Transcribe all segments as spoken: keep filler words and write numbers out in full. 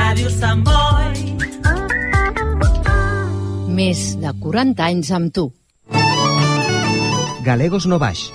Ràdio Sant Boi. Més de quaranta anys amb tu. Galegos no Baix.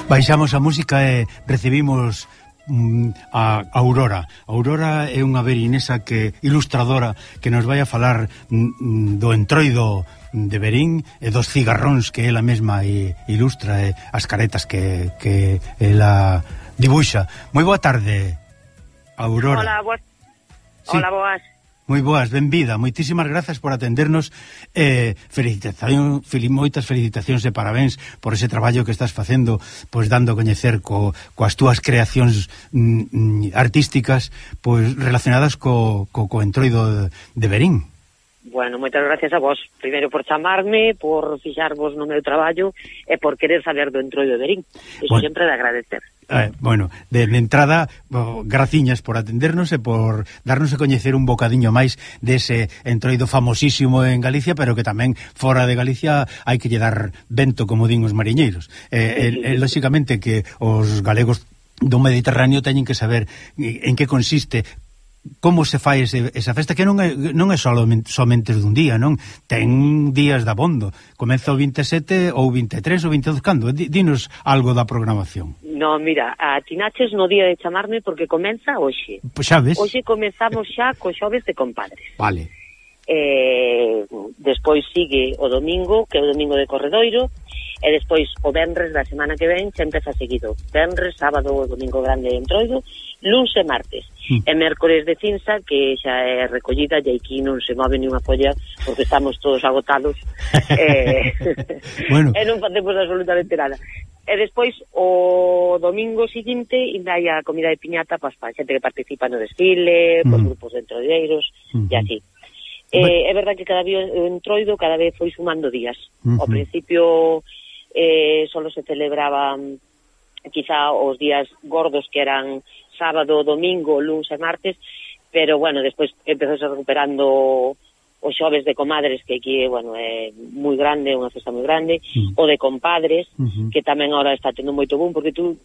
Baixamos a música e recibimos mm, a Aurora. Aurora é unha berinesa que ilustradora que nos vai a falar mm, do entroido de Verín e dos cigarróns que ela mesma e, ilustra e as caretas que, que ela dibuixa. Moi boa tarde, Aurora. Hola, boas. Sí. Hola, boas. Moi boas, benvida, moitísimas grazas por atendernos eh, felicitación, fel, moitas felicitacións e parabéns por ese traballo que estás facendo, pois dando a coñecer co, coas túas creacións mm, artísticas pois relacionadas co, co, co entroido de, de Verín. Bueno, moitas gracias a vos, primeiro por chamarme, por fixarvos no meu traballo e por querer saber do entroido de Verín. Iso bueno. Sempre de agradecer. Eh, bueno, de, de entrada, oh, graciñas por atendernos e por darnos a coñecer un bocadiño máis dese entroido famosísimo en Galicia, pero que tamén fora de Galicia hai que lle dar vento, como din os mariñeiros. Eh, eh, eh, lóxicamente que os galegos do Mediterráneo teñen que saber en que consiste, como se fai ese, esa festa, que non é, non é solamente, somente dun día, non? Ten días de abondo. Comeza o vinte e sete ou vinte e tres ou vinte e dos, cando? Dinos algo da programación. No, mira, atinaches no día de chamarme porque comeza hoxe. Pois xa ves. Hoxe comezamos xa co xoves de compadres. Vale. Eh, despois sigue o domingo, que é o domingo de Corredoiro, e despois o venres da semana que ven xa empeza seguido. Venres, sábado, o domingo grande de entroido, luns e martes. Mm. E mércores de cinza, que xa é recollida, e aquí non se move ni unha polla porque estamos todos agotados. eh, bueno. E non facemos absolutamente nada. E despois, o domingo seguinte, ainda hai a comida de piñata para a xente que participa no desfile, mm. por grupos de entroideiros, mm-hmm. e así. Eh, é verdad que cada día o entroido cada vez foi sumando días. Mm-hmm. Ao principio eh, solo se celebraban quizá os días gordos que eran sábado, domingo, luns e martes, pero bueno, despois empezou se recuperando os xoves de comadres, que aquí, bueno, é moi grande, unha festa moi grande, mm. o de compadres, uh-huh. que tamén ahora está tendo moito boom, porque tú,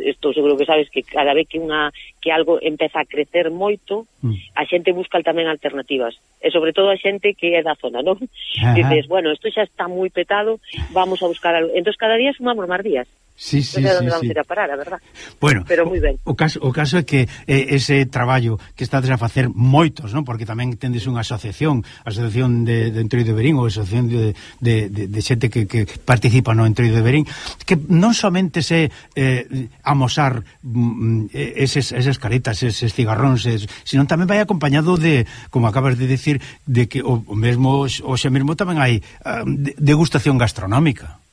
estou seguro que sabes que cada vez que unha que algo empeza a crecer moito, mm. a xente busca tamén alternativas, e sobre todo a xente que é da zona, non? Uh-huh. Dices, bueno, isto xa está moi petado, vamos a buscar algo. Entón, cada día sumamos máis días. Sí, sí, non sei sí, onde vamos sí. ir a parar, a verdad. Bueno, pero moi ben. O, o, caso, o caso é que eh, ese traballo que estades a facer moitos, non? Porque tamén tendes unha asociación, asociación de, de entroido de Verín, ou asociación de, de, de, de xente que, que participa no entroido de Verín, que non somente se eh, amosar mm, eses, esas caretas, eses cigarróns, es, sino tamén vai acompañado de, como acabas de decir, de que o, o mesmo, o xa mesmo tamén hai uh, degustación gastronómica.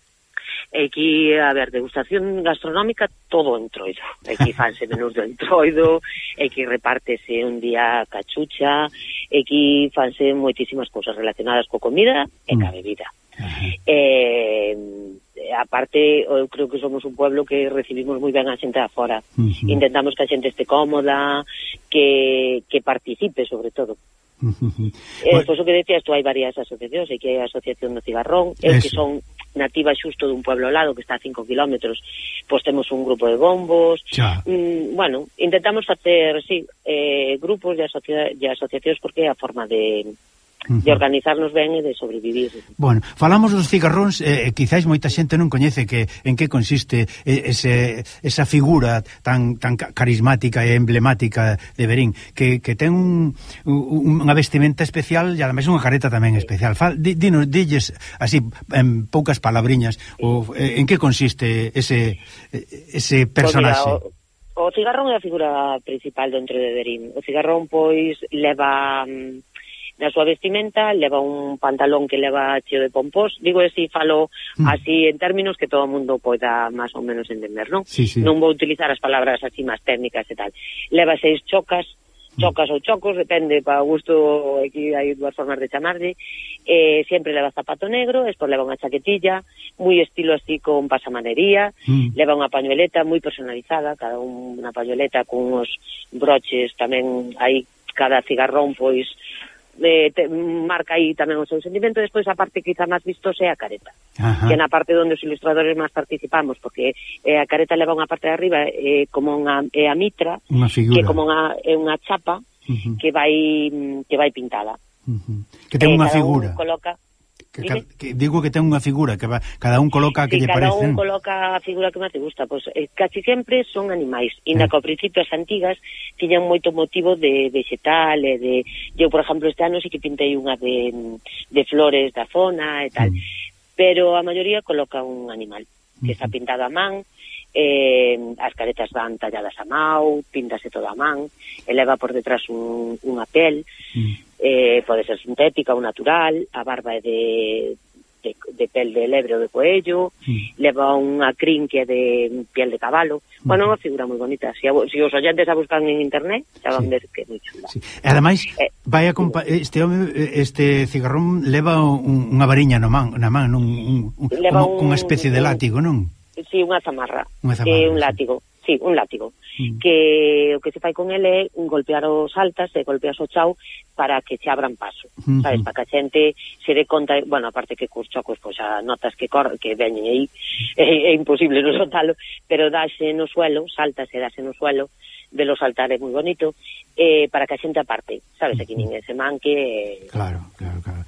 Aquí, a ver, degustación gastronómica, todo entroido. Aquí fanse menús do entroido, aquí repártese un día cachucha, aquí fanse moitísimas cousas relacionadas co comida e ca bebida. Uh-huh. Eh, aparte, eu creo que somos un pueblo que recibimos moi ben a xente de fora. Uh-huh. Intentamos que a xente este cómoda, que, que participe, sobre todo. Uh-huh. Eh, pois o que decías, tú hai varias asociacións, hai que hai a Asociación do Cigarrón, eu que son nativa xusto dun pueblo ao lado que está a cinco kilómetros, pois temos un grupo de bombos. Mm, bueno, intentamos facer, sí, eh, grupos de, asocia de asociacións porque é a forma de de organizarnos ben e de sobrevivir. Bueno, falamos dos cigarróns, eh, quizáis moita xente non coñece que en que consiste ese, esa figura tan tan carismática e emblemática de Verín, que, que ten un, un, unha vestimenta especial e ademais unha careta tamén especial. Fal, di, dinos, dilles así en poucas palabriñas, o, en que consiste ese ese personaje. Pues mira, o, O cigarrón é a figura principal do Entroido de Verín. O cigarrón, pois, leva um, na súa vestimenta, leva un pantalón que leva cheo de pompós. Digo así, falo mm. así en términos que todo o mundo poida máis ou menos entender, non? Sí, sí. Non vou utilizar as palabras así máis técnicas e tal. Leva seis chocas, chocas ou chocos, depende, para o gusto, aquí hai dúas formas de chamarlle. Eh, sempre leva zapato negro, despois leva unha chaquetilla, moi estilo así con pasamanería, mm. leva unha pañueleta moi personalizada, cada un, unha pañueleta con uns broches tamén, aí cada cigarrón pois eh, te, marca aí tamén o seu sentimento. Despois a parte quizá máis vistosa é a careta. Ajá. Que na parte onde os ilustradores máis participamos, porque eh, a careta leva unha parte de arriba eh, como unha, é a mitra, que como unha, é unha chapa uh-huh. que vai que vai pintada. Uh-huh. Que ten eh, unha figura. Coloca Que, que, digo que ten unha figura que va, cada un coloca que sí, lle parece. Cada un coloca a figura que máis te gusta, pois pues, eh, casi sempre son animais. Inda eh. que ao principio as antigas tiñan moito motivo de vegetal e de, eu por exemplo este ano sí que pintei unha de, de flores da zona e tal, mm. pero a maioría coloca un animal que mm. está pintado a man. Eh, as caretas van talladas a mao, píntase toda a man, eleva por detrás un, unha pel, mm. eh, pode ser sintética ou natural, a barba é de, de, de pel de lebre ou de coello, mm. leva unha crin que é de piel de cabalo. Mm. Bueno, é unha figura moi bonita. Se, si, si os oyentes a buscan en internet, xa van sí. ver que é moi chula. Sí. E ademais, eh, vai a compa- este home, este cigarrón leva un, unha variña no man, na man, un, un, un, como, un, unha especie de látigo, non? Sí, unha zamarra, unha zamarra eh, un látigo, sí, un látigo, mm. que o que se fai con ele é golpear os altas e golpear o chao para que se abran paso, mm-hmm. sabes, para que a xente se dé conta, bueno, aparte que cos chocos, pois a notas que cor, que veñen aí, é, é imposible non soltalo, pero dáse no suelo, saltas e dáse no suelo, velo saltar é moi bonito, eh, para que a xente aparte, sabes, aquí ninguén se manque. Eh, claro, claro, claro.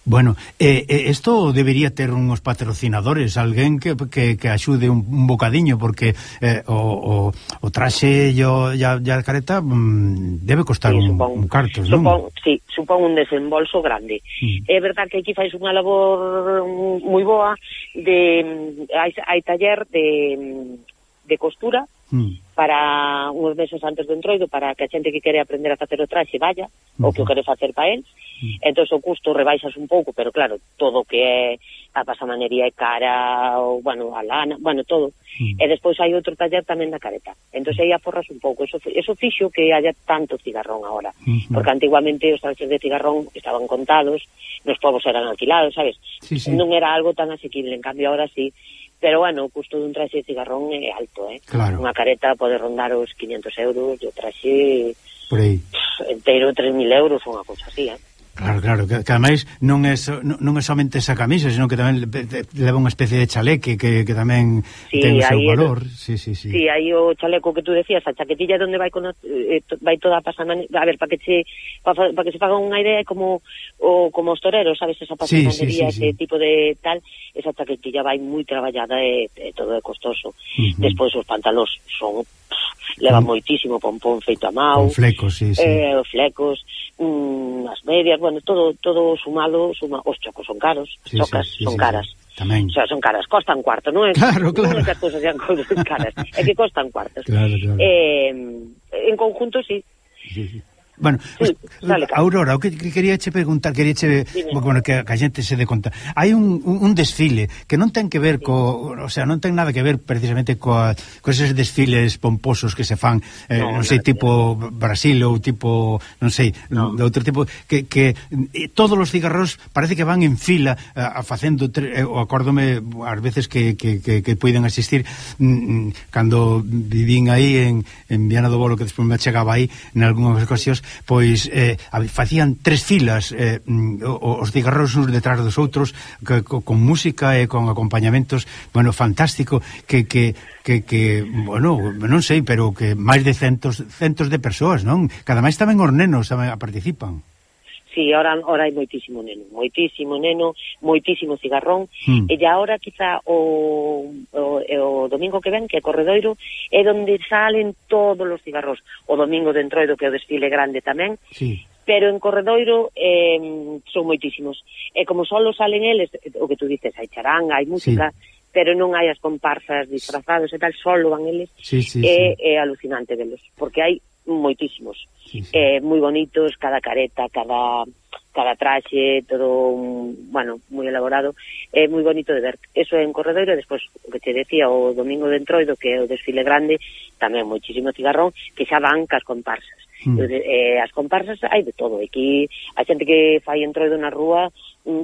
Bueno, eh, eh, esto debería ter uns patrocinadores, alguén que, que, que axude un, un bocadiño, porque eh, o, o, o traxe e a careta mm, debe costar sí, un, supón, un cartos, non? Supón, sí, supón un desembolso grande. Mm. É verdad que aquí fais unha labor moi boa, de hai, hai taller de, de costura, mm. para uns meses antes do Entroido, para que a xente que quere aprender a facer o traxe vaya, uh-huh. ou que o quere facer para el. Uh-huh. Entón o custo rebaixas un pouco, pero claro, todo o que é a pasamanería é cara, ou, bueno, a lana, bueno, todo. Uh-huh. E despois hai outro taller tamén na careta. Entón aí aforras un pouco. Eso, eso fixo que haya tanto cigarrón agora. Uh-huh. Porque antiguamente os traxes de cigarrón estaban contados, nos povos eran alquilados, sabes? Sí, sí. Non era algo tan asequible, en cambio ahora sí. Pero, bueno, o custo dun traxe de cigarrón é alto, eh? Claro. Unha careta pode rondar os quinientos euros, e o traxe por aí inteiro tres mil euros, unha cousa así, eh? Claro, claro, que, que ademais non é, so, non, non é somente esa camisa, senón que tamén leva unha especie de chaleque que, que tamén sí, ten o seu valor. El, sí, sí, sí. Sí, aí o chaleco que tú decías, a chaquetilla onde vai con, eh, vai toda a pasamanería, a ver, para que se para, para que se faga unha idea, como o como os toreros, sabes, esa pasamanería, sí, sí, sí, ese sí. tipo de tal, esa chaquetilla vai moi traballada e, e todo é costoso. Uh-huh. Despois os pantalóns son leva uh-huh. moitísimo pompón feito a mao, con flecos, sí, sí. Eh, flecos, mm, as medias, bueno, todo todo sumado, suma, os chocos son caros, sí, chocas sí, sí, son sí, caras. Sí. Tamén. O sea, son caras, costan cuarto, non é? Claro, claro. Non é que as cousas sean caras, é que costan cuartos. Claro, claro. Eh, en conjunto, sí. Sí, sí. Bueno, sí, dale, Aurora, o que quería che preguntar, quería che, bueno, que a xente se dé conta. Hai un, un, un desfile que non ten que ver sí. co, o sea, non ten nada que ver precisamente coa, co eses desfiles pomposos que se fan, eh, no, non sei, tipo Brasil ou tipo, non sei, no. de outro tipo, que, que eh, todos os cigarros parece que van en fila a, a facendo, eh, o acórdome ás veces que, que, que, que poiden asistir mm, cando vivín aí en, en Viana do Bolo, que despois me chegaba aí en algunhas ocasións, pois eh, facían tres filas eh, os cigarros uns detrás dos outros, que, co, con música e con acompañamentos, bueno, fantástico, que, que, que, que bueno, non sei, pero que máis de centos centos de persoas, non? Cada máis tamén os nenos tamén participan. Sí, ahora, ahora hai moitísimo neno, moitísimo neno, moitísimo cigarrón, mm. e ya ahora quizá o, o, o domingo que ven, que é Corredoiro, é onde salen todos os cigarros. O domingo de Entroido, que é o desfile grande tamén, sí. pero en Corredoiro eh, son moitísimos. E como solo salen eles, o que tú dices, hai charanga, hai música, sí. pero non hai as comparsas disfrazados e tal, solo van eles, sí, sí, é, sí. é alucinante velos, porque hai moitísimos, sí, sí. Eh, moi bonitos, cada careta, cada cada traxe, todo, bueno, moi elaborado, é moi bonito de ver. Eso é en Corredoiro, e despois, o que te decía, o domingo de Entroido, que é o desfile grande, tamén moitísimo cigarrón, que xa van cas comparsas. Mm. Eh, as comparsas hai de todo. Aquí a xente que fai Entroido na rúa,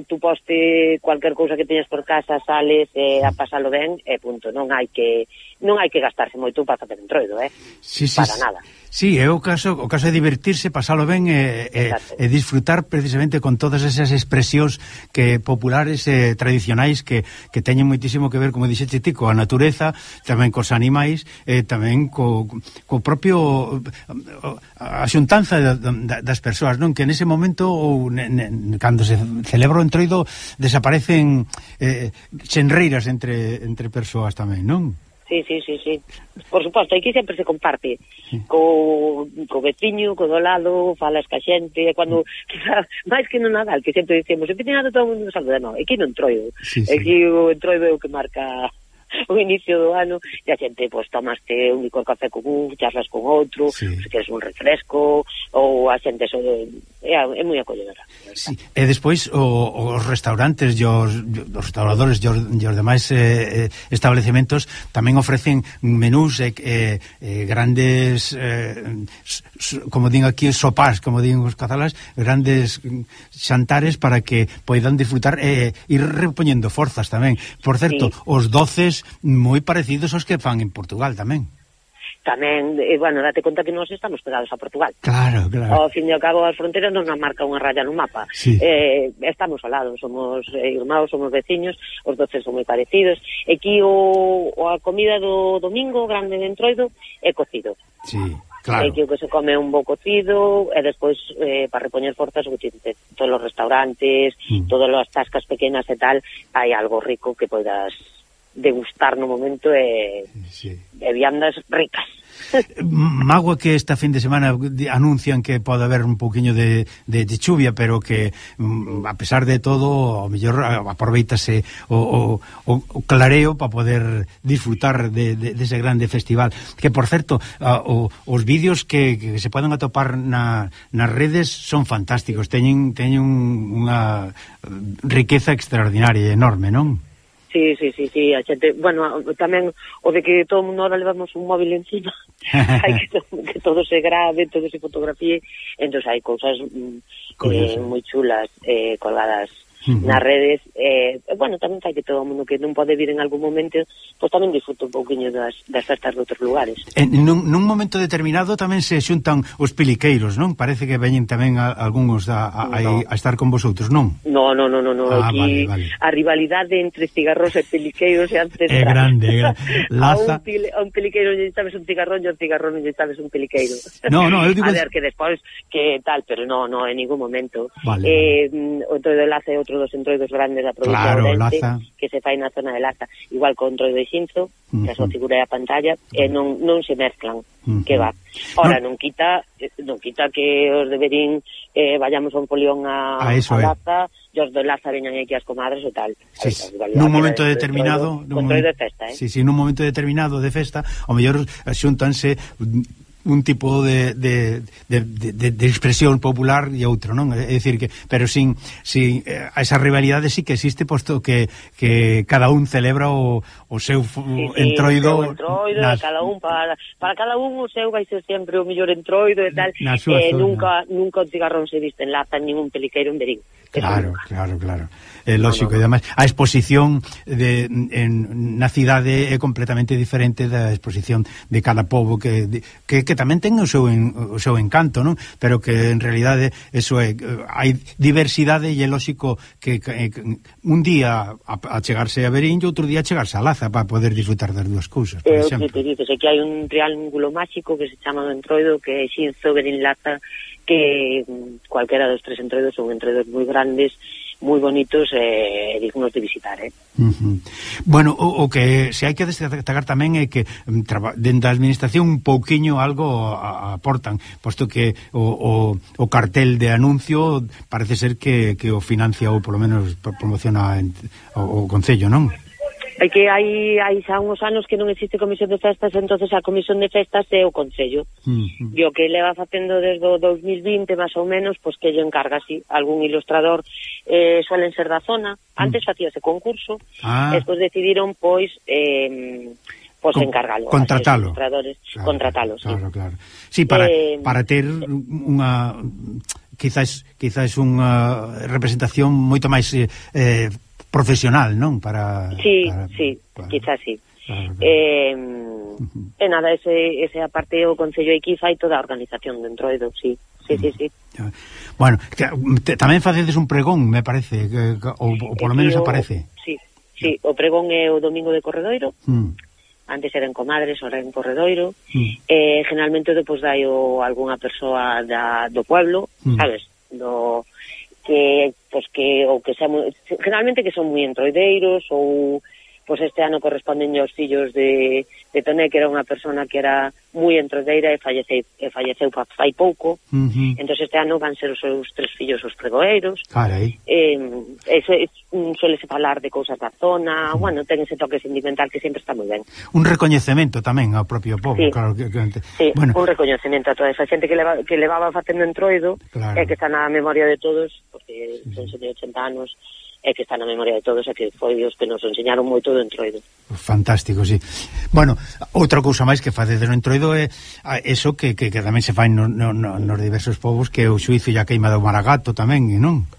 tú poste cualquier cousa que teñas por casa, sales eh, a pasalo ben, e punto. Non hai que non hai que gastarse moito para facer Entroido, eh? Sí, sí, para nada. Sí, é o caso, o caso de divertirse, pasalo ben e, e, e disfrutar precisamente con todas esas expresións que populares e tradicionais que, que teñen moitísimo que ver, como dixete ti, coa natureza, tamén cos animais, e tamén co, co propio a xuntanza das persoas, non? Que nese momento, ou ne, ne, cando se celebra o Entroido, desaparecen eh, xenreiras entre, entre persoas tamén, non? Sí, sí, sí, sí. Por suposto, aquí sempre se comparte sí. co, co veciño, co do lado, falas ca xente, e cando, quizá, máis que no Nadal, que sempre dicemos, en Pitinado todo o mundo saluda, non, aquí non Entroido. Sí, sí. Aquí o Entroido é o que marca o inicio do ano, e a xente, pois, tomaste un licor café con un, charlas con outro, sí. se queres un refresco, ou a xente, so, é, é moi acolledora. Sí. E despois, o, os restaurantes e os, os restauradores e os, os demais eh, establecementos tamén ofrecen menús e eh, eh, grandes, eh, como din aquí, sopás, como din os catalás, grandes xantares para que poidan disfrutar e eh, ir repoñendo forzas tamén. Por certo, sí. os doces moi parecidos aos que fan en Portugal tamén. Tamén, eh, bueno, date conta que nós estamos pegados a Portugal. Claro, claro. Ao fin e ao cabo, as fronteras non nos marca unha raya no mapa. Sí. Eh, estamos ao lado, somos eh, irmãos, somos veciños, os doces son moi parecidos. Aquí o, o a comida do domingo grande de Entroido é cocido. Sí. Claro. Aquí o que se come un bo cocido, e despois eh, para repoñer forzas o que te, todos os restaurantes, mm. todas as tascas pequenas e tal, hai algo rico que poidas degustar no momento e, sí. e viandas ricas. Magua que esta fin de semana anuncian que pode haber un pouquiño de, de, de chuvia, pero que a pesar de todo, ao mellor aproveitase o, o, o clareo para poder disfrutar de, de, de ese grande festival. Que, por certo, a, o, os vídeos que, que se poden atopar na, nas redes son fantásticos, teñen, teñen unha riqueza extraordinaria e enorme, non? Sí, sí, sí, sí, a xente, bueno, tamén o de que todo o mundo ahora levamos un móvil encima, hai que, to, que todo se grabe, todo se fotografíe, entón hai cousas eh, moi chulas eh, colgadas uh-huh. nas redes, eh, bueno, tamén hai que todo o mundo que non pode vir en algún momento, pois tamén disfruta un pouquiño das, das festas de outros lugares. En nun, nun momento determinado tamén se xuntan os peliqueiros, non? Parece que veñen tamén a, algúns a, a, no. a estar con vosotros, non? No, no, no, no, no. Ah, aquí vale, vale. A rivalidade entre cigarros e peliqueiros é ancestral. É grande, é grande. Laza... A un, pil, a un peliqueiro lle sabes un cigarrón e a un cigarrón lle sabes un peliqueiro. No, no, eu digo... A ver, que despois, que tal, pero no, no, en ningún momento. Vale, eh, vale. O Entroido de Laza é outro dos entroidos grandes da provincia claro, de Ourense, Laza. Que se fai na zona de Laza. Igual con o Entroido de Xinzo, uh-huh. que a súa figura é a pantalla, e non, non se mezclan. Uh-huh. Que va. Ora, no. non quita non quita que os de Berín eh, vayamos a un polión a, a, a Laza, e os de Laza veñan aquí as comadres e tal. Sí, sí. Nun momento de determinado, con Entroido de festa, eh? Sí, sí, nun momento determinado de festa, ao mellor xuntanse un tipo de, de, de, de, de expresión popular e outro, non? É dicir que, pero sin, sin eh, esa rivalidade sí que existe, posto que, que cada un celebra o, o seu sí, sí, entroido, o seu entroido nas... cada un para, para cada un o seu vai ser sempre o mellor entroido e tal. Eh, nunca nunca o cigarrón se viste en Laza, nin un peliqueiro en Berín. Claro, claro, claro. É lógico, no, no. E además a exposición de, en, na cidade é completamente diferente da exposición de cada pobo que, de, que, que tamén ten o seu, en, o seu encanto, non? Pero que en realidade eso é, hai diversidade e é lógico que, que, que un día a, a chegarse a Berín e outro día a chegarse a Laza para poder disfrutar das dúas cousas, por eh, exemplo. Que te dices, é que hai un triángulo máxico que se chama do Entroido, que é Xinzo, Berín, Laza, que cualquera dos tres entroidos son entroidos moi grandes, moi bonitos e eh, dignos de visitar, eh? Uh-huh. Bueno, o, o que se hai que destacar tamén é que dentro da administración un pouquiño algo aportan, posto que o, o, o cartel de anuncio parece ser que, que o financia ou polo menos promociona o, o Concello, non? É que hai, hai xa uns anos que non existe comisión de festas, entonces a comisión de festas é o Concello. Mm-hmm. E o que leva facendo desde o dos mil vinte, máis ou menos, pois que lle encarga, si, algún ilustrador, eh, suelen ser da zona. Antes mm. facíase concurso, ah. despois decidiron, pois, eh, pois Con, encargalo. Contratalo. Ilustradores, claro, contratalo, claro, sí. Claro. Sí, para, eh, para ter unha... quizás, quizás unha representación moito máis... Eh, profesional, non? Para Sí, para, sí, para, quizás sí. Claro, claro. Eh, uh-huh. E nada, ese, ese aparte o Concello aquí fai toda a organización de Entroido, sí. Sí, uh-huh. sí, sí. Bueno, que, te, tamén facedes un pregón, me parece, que, que, ou, ou polo menos o, aparece. Sí, sí, o pregón é o domingo de Corredoiro. Uh-huh. Antes era en Comadres, ahora en Corredoiro. Uh-huh. Eh, generalmente depois dai o algunha persoa da, do pueblo, uh-huh. sabes? Do... que pues que ou que sea muy, generalmente que son moi entroideiros ou pues este ano corresponden aos fillos de, de Toné, que era unha persona que era moi entroideira e falleceu, e falleceu fai pouco. Uh-huh. Entón este ano van ser os seus tres fillos os pregoeiros. Carai. Eh, eso, es, suele se falar de cousas da zona, uh-huh. bueno, ten ese toque sentimental que sempre está moi ben. Un recoñecemento tamén ao propio povo, sí. claro que, que sí, bueno. Un recoñecemento a toda esa xente que, leva, que levaba facendo entroido, claro. E que está na memoria de todos, porque sí. Son de ochenta anos, e que está na memoria de todos, e que foi os que nos enseñaron moito do entroido. Fantástico, sí. Bueno, outra cousa máis que facedes no entroido é eso que, que, que tamén se fai no, no, no, nos diversos povos, que é o xuizo e a queima do maragato tamén, non?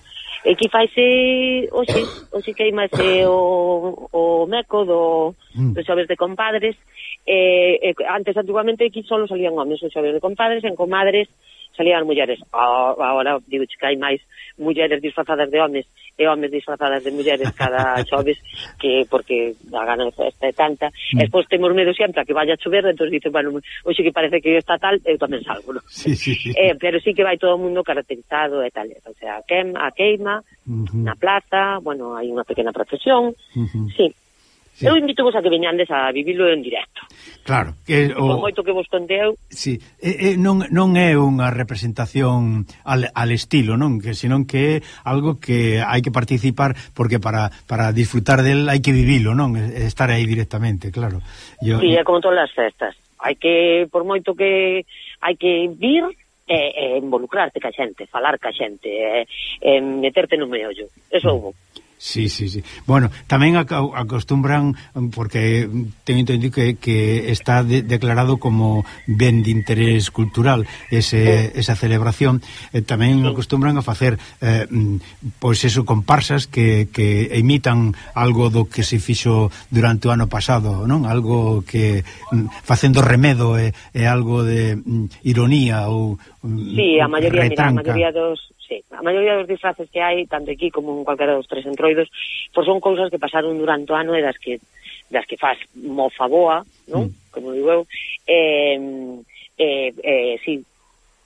E que faise hoxe, hoxe queimase o, o meco do, mm. do xoves de compadres. Eh, eh, antes, antiguamente, aquí só salían homes os xoves de compadres, en comadres salían mulleres. Oh, agora, digo, que hai máis mulleres disfrazadas de homes e homes disfrazadas de mulleres cada xoves, que porque a gana de festa é tanta. Mm. E despois temos medo sempre a que vaya a chover, entón dicen, bueno, hoxe que parece que está tal, eu tamén salgo, non? Sí, sí, sí. Eh, pero sí que vai todo o mundo caracterizado e tal, o sea, a queima, a queima uh-huh. na plaza, bueno, hai unha pequena procesión, uh-huh. sí. Sí. Eu invito vos a que veñandes a vivilo en directo. Claro, que o moito que vos conteu. Sí, e, e, non non é unha representación al, al estilo, non, que senón que é algo que hai que participar, porque para para disfrutar del hai que vivilo, non, estar aí directamente, claro. Yo, sí, é como todas as festas. Hai que, por moito que hai que vir e, e involucrarte ca xente, falar ca xente, e, e meterte no meollo. Eso hubo. Sí, sí, sí. Bueno, tamén acostumbran, porque teño entendido que, que está de, declarado como ben de interés cultural ese, esa celebración, eh, tamén acostumbran a facer eh, pois eso, comparsas que, que imitan algo do que se fixo durante o ano pasado, non? Algo que facendo remedo é, é algo de mm, ironía ou sí, a maioría, mira, a maioría dos sí, a maioría dos disfraces que hai, tanto aquí como en cualquiera dos tres entroidos, pois son cousas que pasaron durante o ano e das que das que faz mofa boa, non? Mm. Como digo eu, eh, eh, eh, sí,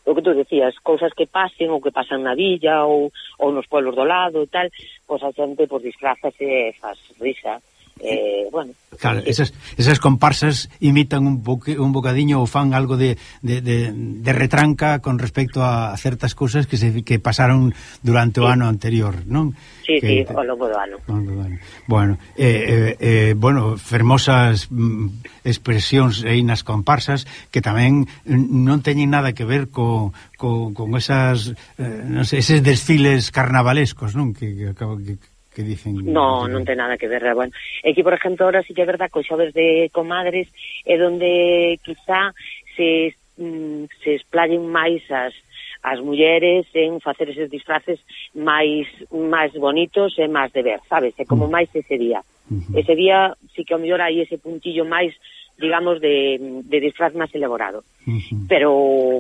o que tú decías, cousas que pasen ou que pasan na villa ou, ou nos pueblos do lado e tal, pois a xente pois disfrazas e faz risa. Eh, bueno, claro, esas, esas comparsas imitan un, boque, un bocadiño ou fan algo de, de, de, de retranca con respecto a certas cousas que se que pasaron durante sí. o ano anterior, non? Sí, que, sí, ao longo do ano. Bueno, eh, eh, eh, bueno, fermosas mm, expresións aí nas comparsas que tamén non teñen nada que ver co, co, con esas eh, non sei, eses desfiles carnavalescos, non? Que, que, que que dicen... No, non ten nada que ver, bueno. E que, por exemplo, ahora sí que é verdad que os xoves de comadres é donde quizá se, mm, se esplayen máis as, as mulleres en facer eses disfraces máis máis bonitos e máis de ver, sabes? É como máis ese día. Uh-huh. Ese día sí que ao mellor hai ese puntillo máis, digamos, de, de disfraz máis elaborado. Uh-huh. Pero,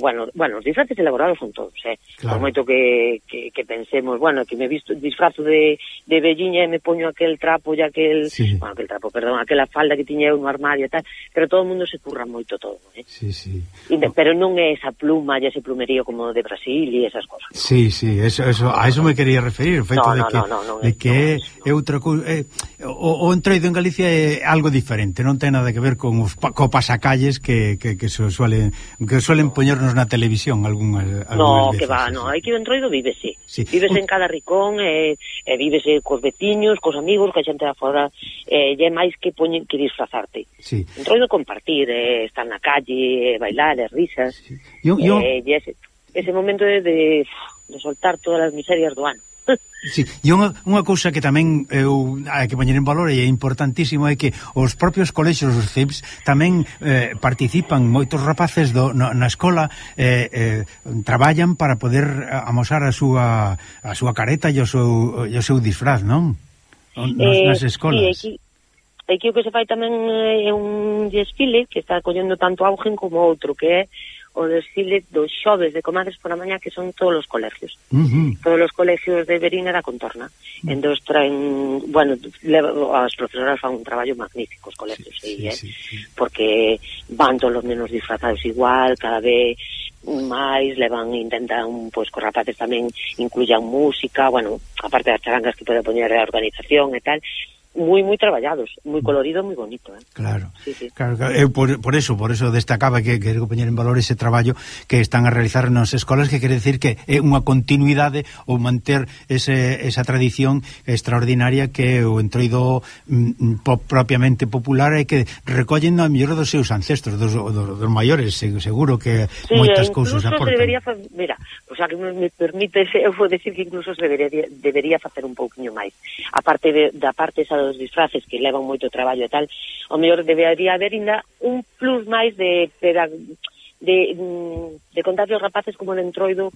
bueno, bueno, os disfraces elaborados son todos, eh? Claro. Por moito que, que, que pensemos, bueno, que me visto disfrazo de, de velliña e me poño aquel trapo e aquel, sí. bueno, aquel trapo, perdón, aquela falda que tiña eu no armario e tal, pero todo o mundo se curra moito todo, eh? Sí, sí. E, pero non é esa pluma e ese plumerío como de Brasil e esas cosas. Sí, sí, eso, eso, a eso me quería referir, o feito no, de no, que, no, no, no, de que no, é outra cousa, eh, o, o entroido en Galicia é algo diferente, non ten nada que ver con os co pasacalles que, que, que se suelen que suelen poñernos na televisión algunhas, algunhas no, veces. Que va, no, hai que o entroido vive, sí. sí. Vives en cada ricón, e, e vives cos veciños, cos amigos, que a xente de fora, e é máis que poñen que disfrazarte. Sí. Entroido compartir, eh, estar na calle, bailar, e risas, sí. yo, yo... Eh, e ese, ese momento de, de, de soltar todas as miserias do ano. Sí, e unha, unha cousa que tamén eu hai que poñer en valor e é importantísimo é que os propios colexios, os C I Ps, tamén eh, participan, moitos rapaces do, no, na escola eh, eh, traballan para poder amosar a súa a súa careta e o seu, e o seu disfraz, non? Nos, eh, nas escolas. Sí, aquí, aquí o que se fai tamén é un desfile que está collendo tanto augen como outro, que é o desfile dos xoves de comadres por a mañá, que son todos os colegios. Uh-huh. Todos os colegios de Verín e da contorna. Uh-huh. Entón traen, bueno, leva, as profesoras fan un traballo magnífico os colegios, sí, sí, eh? sí, sí. Porque van todos os menos disfrazados igual, cada vez máis, levan, intentan, pois, cos rapaces tamén incluyan música, bueno, aparte das charangas que pode poñer a organización e tal, moi moi traballados, moi colorido, moi bonito, eh. Claro. Sí, sí. Claro, claro. Eu por, por eso, por eso destacaba que quero poñer en valor ese traballo que están a realizar nas escolas, que quere decir que é unha continuidade ou manter ese, esa tradición extraordinaria que o entroido mm, po, propiamente popular e que recollen a mellor dos seus ancestros, dos, dos, dos maiores, seguro que sí, moitas cousas aportan. Debería, mira, o sea, que me, me permite, eu vou decir que incluso se debería, debería facer un pouquiño máis. A parte de, da parte esa dos disfraces que levan moito traballo e tal, o mellor debería haber ainda un plus máis de de, de contar os rapaces como de entroido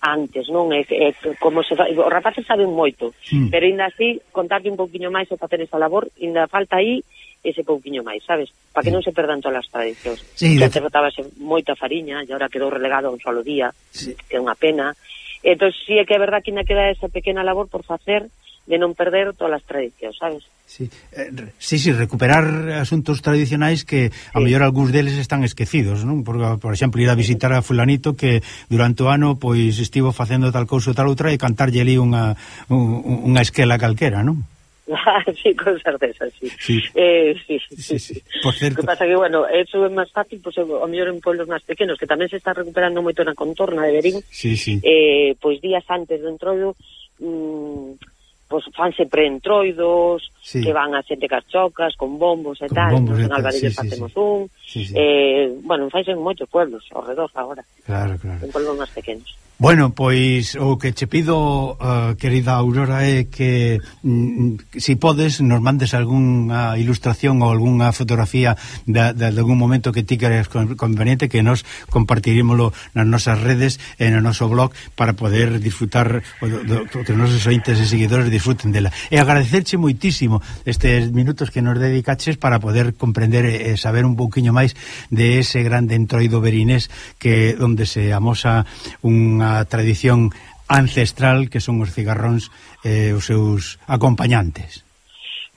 antes, non? É, é como se fa, os rapaces saben moito, sí. Pero ainda así contarle un pouquiño máis e facer esa labor, ainda falta aí ese pouquiño máis, sabes? Para que sí. Non se perdan todas as tradicións. Sí, que antes botábase moita fariña e agora quedou relegado a un solo día, sí. Que é unha pena. Entón, sí é que é verdad que ainda queda esa pequena labor por facer de non perder todas as tradicións, sabes? Sí, eh, sí, sí, recuperar asuntos tradicionais que a sí. Mellor algúns deles están esquecidos, non? Por, por exemplo, ir a visitar a fulanito que durante o ano pois estivo facendo tal cousa ou tal outra e cantarlle ali unha, un, unha esquela calquera, non? Ah, sí, con certeza, sí. Sí. Eh, sí, sí, sí, sí. sí. Por certo. O que pasa que, bueno, eso é máis fácil, pois, pues, ao mellor en pueblos máis pequenos, que tamén se está recuperando moito na contorna de Verín, sí, sí. Eh, pois días antes do entroido, mmm, pois fanse preentroidos, sí. Que van a xente carchocas, con bombos e tal, bombos en Alvarelles sí, facemos sí, sí. un, sí, sí. Eh, bueno, fanse en moitos pueblos, ao redor agora, claro, claro. En pueblos máis pequenos. Bueno, pois o que che pido, uh, querida Aurora, é que mm, si podes nos mandes algunha ilustración ou algunha fotografía de, de, de algún momento que ti queres conveniente, que nos compartirímoslo nas nosas redes e no noso blog para poder disfrutar, o, do, que os nosos ointes e seguidores disfruten dela. E agradecerche moitísimo estes minutos que nos dedicaches para poder comprender e saber un pouquiño máis de ese grande entroido verinés que onde se amosa unha a tradición ancestral que son os cigarróns e eh, os seus acompañantes.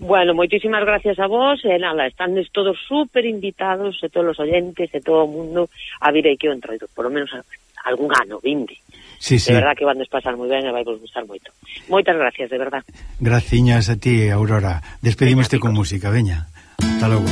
Bueno, moitísimas gracias a vos e nada, están todos super invitados e todos os oyentes e todo o mundo a vir aquí ao entroido, por lo menos algún ano, vinte. Sí, sí. De verdad que van a pasar moi ben e vai vos gustar moito. Moitas gracias, de verdad. Graciñas a ti, Aurora. Despedimos con música, veña. Hasta logo.